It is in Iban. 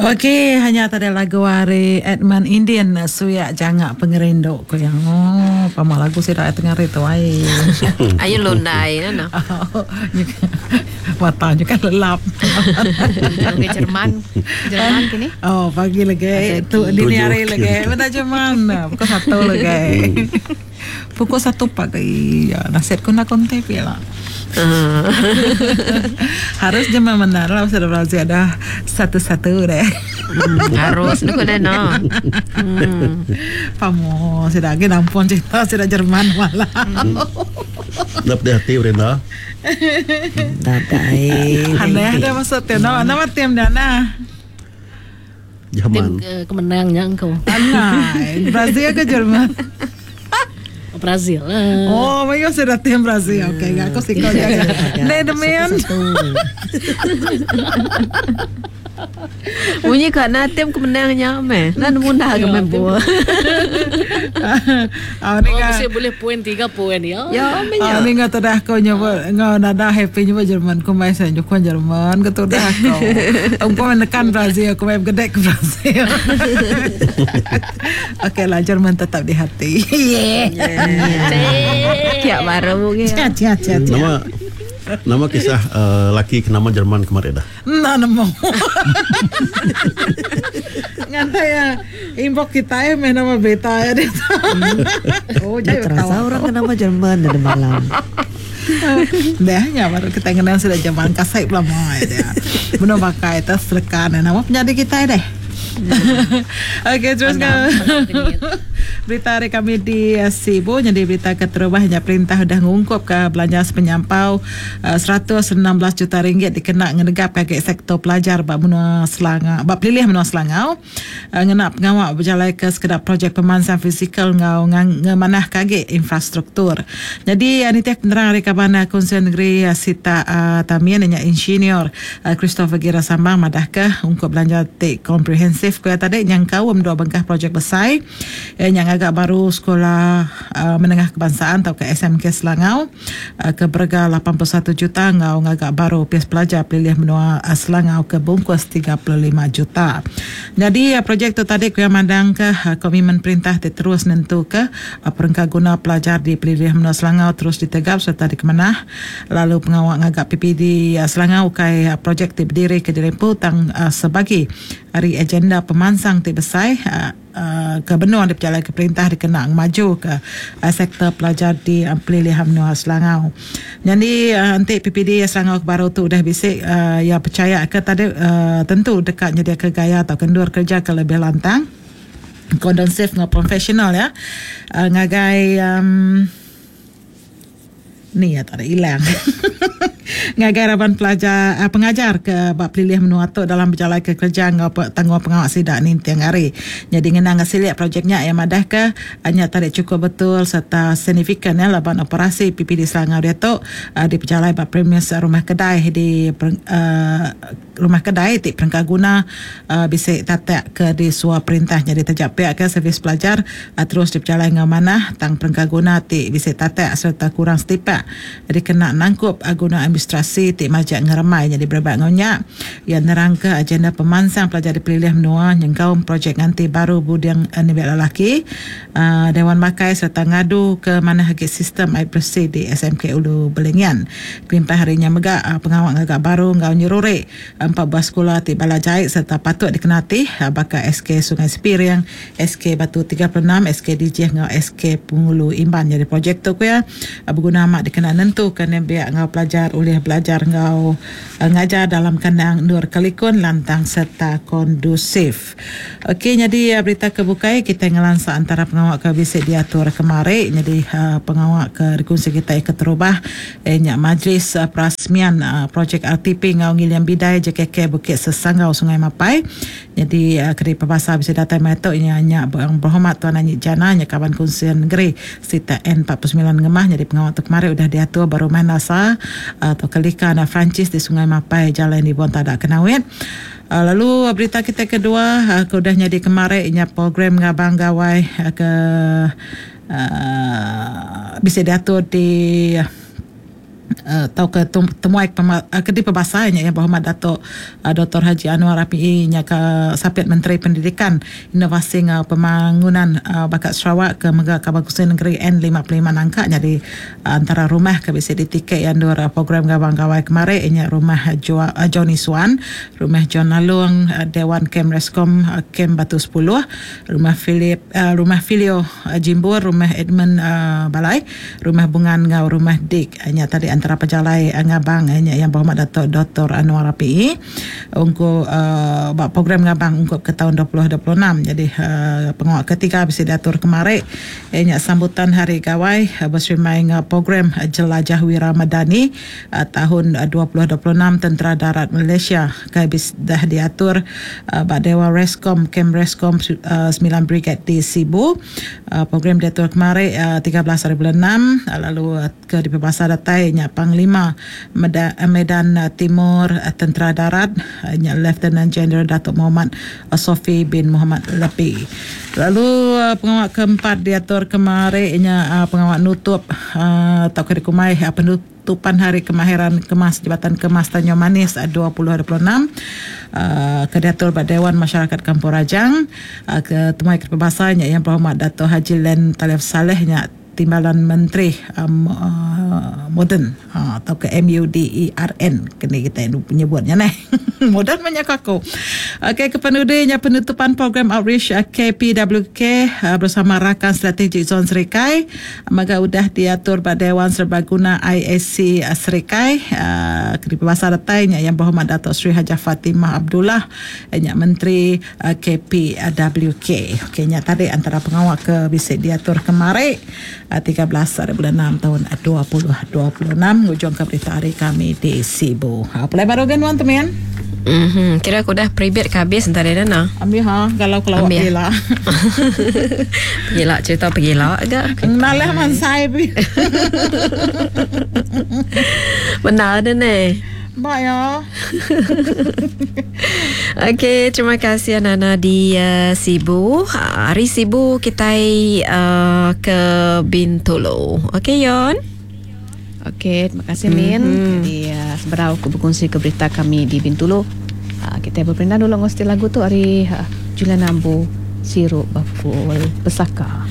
Okey, hanya tadi lagu ari Edmund Indin Suyak Jangak Pengerindu ku iya. Oh, pama lagu sida ai tengah hari tu ai. Ayu lundai nah no. Mata nya kan lelap. Ke Jerman. Jerman kini. Oh, pagi lagi. Tu dini hari lagi. Benda Jerman. Pukul satu lagi. Pukul satu pagi. Ya, nasit ku enda kontak pia lah. Harus je memenang lah pasal Brazil dah satu-satu deh. Harus nu deh no. Pamo sida agi nampun cerita sida Jerman malam. Enda pedih ati Brenda. Nadai. Aneh dah masuk tim. Nama nama tim dah nah. Jerman. Tim ke menang nya engkau. Anai. Brazil ke Jerman? Brazil lah. Oh, mereka sudah tim Brazil. Okey, okay, aku sikau jaga. Ne demian. Munyi ka na tim ke menang nya meh. Na nemu dah ke main bola. Ah, ni Oh, ka. mesti boleh poin 3 poin ya. Ya meh Ah, nya. ni ngau tudah aku nyebut ngau nada happy nyebut Jerman ku mai saya nyukung Jerman ke tudah aku. Aku menekan Brazil, aku mai begedek ke Brazil. Okey lah Jerman tetap di hati. Yeah. Kiak baru ke. Cia cia cia cia. Nama nama kisah uh, laki ke nama Jerman kemarin dah. Enda nemu. Ngantai ya inbox kita ya meh nama berita ya dia. Oh, Dah jai terasa ketawa. orang ke nama Jerman dah malam. Dah nya baru kita kenal sudah jaman kasai belama ya dia. Beno pakai tas selekan nama penyadi kita deh. Okey terus ke berita hari kami di eh, Sibu jadi berita keterubah nya perintah udah ngungkup ke belanja sepenyampau eh, 116 juta ringgit dikena ngenegap ke sektor pelajar ba menua Selangau ba pelilih menua Selangau eh, ngena pengawa bejalai ke sekeda projek pemansang fizikal enggau ngemanah ke agi infrastruktur. Jadi eh, nitih penerang ari kaban Kunsil Negeri Sitak Tamin nya Insinyur Christopher Gira Sambang madahka ungkup belanja ti komprehensif ku iya tadi nyengkaum dua bengkah projek besai iya nya ngaga baru Sekolah Menengah Kebangsaan tauka SMK Selangau ke berega 81 juta enggau ngaga baru Opis Pelajar Pelilih Menua Selangau ke bungkus 35 juta. Nyadi projek tu tadi ku iya mandangka komitmen perintah ti terus nentuka perengka guna pelajar di Pelilih Menua Selangau terus ditegap sereta dikemanah. Lalu pengawa ngaga PPD Selangau ukai projek ti bediri ke diri empu tang sebagi ari agenda pemansang ti besai ke benung dipejalaika perintah dikena ngemajuka sektor pelajar di Pelilih Menua Selangau. Nyadi enti PPD Selangau ke baru tu udah bisi iya pechaya ke tadi tentu deka nyediaka gaya tauka endur kereja ke lebih lantang, kondensif enggau profesional iya ngagai. Ni iya tak ada ilang. Ngagai raban pelajar uh, pengajar ke ba pelilih menua tu dalam bejalaika kereja enggau tanggung pengawa sida ninting hari. Nyadi ngenang enggau silik projek nya iya madahka nya tadi chukup betul sereta signifikan ya laban operasi PPD Selangau diatu uh, dipejalai ba premis rumah kedai di uh, Rumah kedai ti perengka guna bisi tatak ke disua perintah nyadi taja pia ke servis pelajar terus dipejalai enggau manah tang perengka guna ti bisi tatak sereta kurang setipak dikena nangkup guna administrasi ti majak ngeremai nyadi berebak enggau nya. Iya nerangka agenda pemansang pelajar di pelilih menua nyengkaum projek nganti baru buding nembiak lelaki, Dewan Makai sereta ngadu ke manah agi sistem ai beresi di SMK Ulu Belingian. Kelimpah ari nya mega, pengawa ngaga baru enggau nyeruri empat buah sekula ti bala jai sereta patut dikena ati baka SK Sungai Sepiring, SK Batu 36, SK Dijih enggau SK Pengulu Imban nyadi projek tu ku iya beguna amat dikena nentuka nembiak enggau pelajar ulih belajar enggau ngajar dalam kandang endur ke likun, lantang sereta kondusif. Okey nyadi berita ke bukai kitai ngelansa antara pengawa ke bisi diatur kemari nyadi pengawa ke dikunsi kitai keterubah iya nya majlis perasmian projek RTP enggau Ngiling Bidai JKK Bukit Sesanggau Sungai Mapai. Nyadi keri pebasa bisi datai maya tu iya nya Yang Berhormat Tuan Anyi Jana nya kaban Kunsil Negeri Sitak N 49 Ngemah nyadi pengawa tu kemari udah diatur ba Rumah Nasa tauka Lika Anak Francis di Sungai Mapai Jalai Nibong Tada Kenawit. Lalu berita kitai kedua ke udah nyadi kemari nya program ngabang gawai ke bisi diatur di. Tauka temuai ke dipebasa nya Yang Berhormat Datuk Doktor Haji Anwar Apiee nya ke Sapit Menteri Pendidikan, Inovasi enggau Pembangunan Bakat Sarawak ke mega Kaban Kunsil Nengeri N55 Nangka nyadi antara rumah ke bisi ditike iya endur program Gawang Gawai kemari nya Rumah Johnny Suan, Rumah John Lalong, Dewan Kem Rescom Kem Batu sepuluh, Rumah Philip Rumah Philio Jimbur, Rumah Edmund Balai, Rumah Bungan enggau Rumah Dik. Nya tadi antara pejalai ngabang nya Yang Berhormat Dato Doktor Anwar Rapiee ungkup ba program ngabang ungkup ke taun 2026. Nyadi pengawa ketiga bisi diatur kemari iya nya sambutan Hari Gawai beserimbai enggau program Jelajah Wira Madani tahun 2026 Tentera Darat Malaysia ke bisi dah diatur ba Dewan Rescom Kem Rescom semilan Brigade di Sibu. Program diatur kemari 13 hari bulan enam lalu ke dipebasa datai nya Panglima Medan Timur Tentera Darat nya Leftenan Jeneral Datuk Mohamad Sofi bin Mohamad Lepi. Lalu pengawa keempat diatur kemari nya pengawa nutup tauka dikumbai Penutupan Hari Kemahiran Kemas Jabatan Kemas Tanjung Manis 2026 ke diatur ba Dewan Masyarakat Kampung Rajang. Ke temuai ke dipebasa nya Yang Berhormat Dato Haji Len Talif Salleh nya Timbalan Menteri Moden tauka MUDERN keni kitai nyebut nya neh. Moden meh nya ku aku. Okey kepenudi nya penutupan program outreach KPWK bersama rakan strategik Zon Serikai. Mega udah diatur ba Dewan Serbaguna IAC Serikai ke dipebasa datai nya Yang Berhormat Dato Sri Hajah Fatimah Abdullah nya Menteri KPWK. Okey nya tadi antara pengawa ke bisi diatur kemari 13 hari bulan 6 taun 2026 ngujungka berita ari kami di Sibu. Ha pulai baru ga nuan tu min. Mhm, kira aku udah peribit ke habis entah dia dah. Ambil ha, galau kelawak pegila. Pegila cerita pegila ga. Nalah mansai pi. Benar dah neh. Ba ya. Okey, terima kasih Nana di uh, Sibu. Hari Sibu kita uh, ke Bintulu. Okey Yon. Okey, terima kasih Min. Mm-hmm. Jadi uh, seberau aku berkongsi ke berita kami di Bintulu. Uh, kita berperindang dulu ngosti lagu tu hari uh, Julian Ambu Sirup Bakul Pesaka.